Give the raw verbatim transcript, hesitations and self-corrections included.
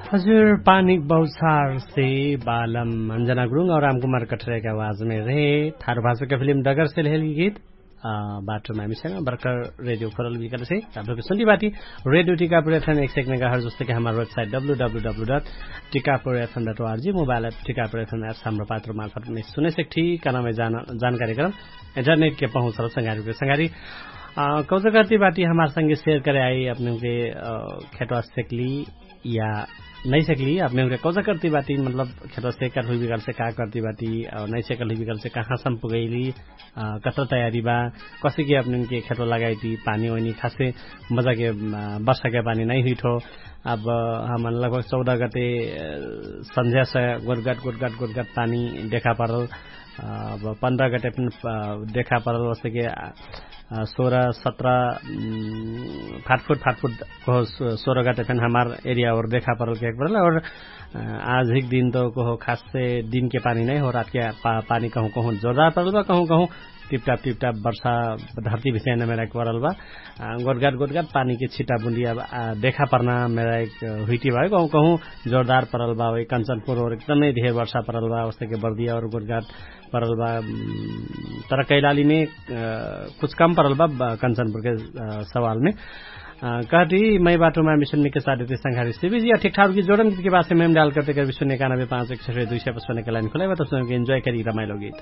हजुर पानिक बौछार से बालम अन्जना गुरुङ और रामकुमार कठरेक आवाजमे रहे। थारु भाषाका फिलिम डगर से लहेल गीत। बाटो मामिसंग बर्कर रेडियो खोरल विकल से। ताबुक सुन्दी बाटी रेडियो टिकापुर एफएम एक सेकने का हर जस्तके हमार website W W W dot Tikapur FM dot ORG mobile app Tikapur FM app साम्र पात्र मार्फत मे सुने सेक ठी कनामे जानकारी करम। इन्टरनेट के पहुँचल संगारी के संगारी कौजगर्ती बाटी हमार संगे सेयर करे आई अपने के खेटवा सेकली या नैसेकली अपने उनके कौजा करती बाटी मतलब खेतवा सेकर हुई बिगल से का करती बाटी? नैसेकल हुई बिगल से कहाँ सम पुगैली? कतर तयारी बा? कसी के अपने उनके खेतवा लगाई ती पानी ओइनी खासे मजा के बर्षा के पानी नै हुई ठो। अब हमन लगभग चौदह गते संझ्या से गोटगट गोटगट गोटगट पानी देखा परल। अब पन्ध्र गते फिन देखा परल वस्तके सोह्र सत्र फाटफुट फाटफुट कहो। सोह्र गते फेन हमार एरिया और देखा परल केक परल और आज हिक दिन त कहो खासे दिनके पानी नै हो रातके पानी कहु कहु जोरदार परल बा कहु कहु टिपटाप टिपटाप बर्षा धर्ती भिसैन मेरा परल बा। गोटगाट गोटगाट पानीके छिटा बुन्दिया देखा परना मेरा एक हुइटी बा कहु कहु जोरदार परल बा। कन्चनपुर और एकदमै धेर बर्षा परल बा वस्तके बर्दिया और गोटगाट परल बा। तर कैलालीमे कुछ कम परल बा कन्चनपुरके सवालमे। कहती मै बाटो मामिसन मिके साथ देती संघारी सिबिजी या ठिकठाक की जोडन गीत के बासे मैम डाल करते कर विश्व नेकानबे पाँच एक सौ दुई सौ पचपन के लाइन खुलाइ बा तब सुनके इन्जॉय करी रमाइलो गीत।